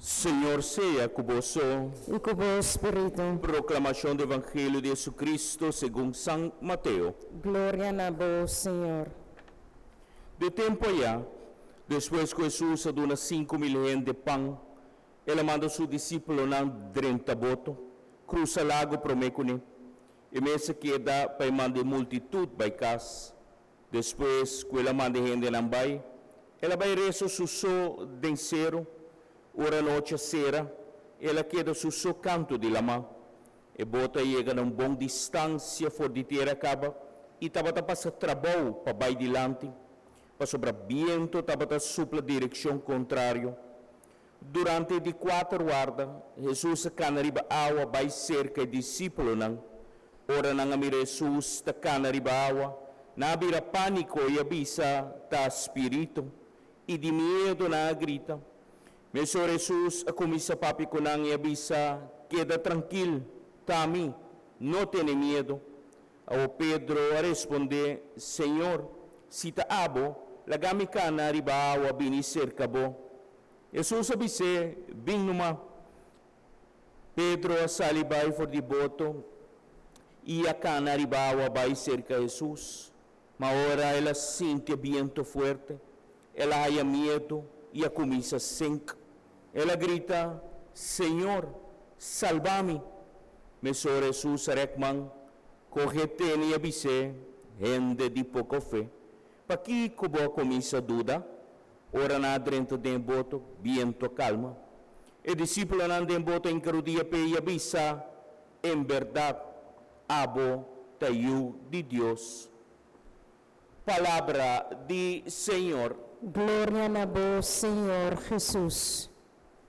Señor sea ku boso. I ku bo spiritu. Proklamashon di Evangelio di Hesukristu segun San Mateo. Gloria na bo, Señor. De tempu ayá, despues ku Hesus a duna 5000 hende pan, el a manda su disípulonan drenta boto, krusa lago promé kuné. E mes a keda pa e manda e multitut bai kas. Despues ku el a manda e hendenan bai, el a bai resa su so den seru. Ora nochi a sera, el a keda su so kantu di laman. E boto a yega na un bon distansia for di tera kaba i tabata pasa trabou pa bai dilanti, pasobra bientu tabata supla direkshon kontrario. Durante e di kuater warda, Hesus a kana riba awa bai serka e disípulonan. Ora nan a mira Hesus ta kana riba awa, nan a bira pániko i a bisa, Ta spiritu! I di miedu nan a grita. Mesora Hesus a kuminsá papia ku nan i a bisa, Keda trankil, ta ami, no tene miedu. Awor Pedro a respondé, Señor, si ta abo, laga mi kana riba awa bini serka bo. Hesus a bis'é, Bin numa. Pedro a sali bai for di boto i a kana riba awa bai serka Hesus. Ma ora el a sinti e bientu fuerte, el a haya miedu i a kuminsá sink. El a grita, Señor, salba mi! Mesora Hesus a rèk man, kohe tene i a bis'é, Hende di poko fe, pakiko bo a kuminsá duda? Ora nan a drenta den e boto, bientu a kalma. E disípulonan den boto a hinka rudia p'e i a bisa, En bèrdat, abo ta Yu di Dios. Palabra di Señor. Gloria na bo, Señor Hesus.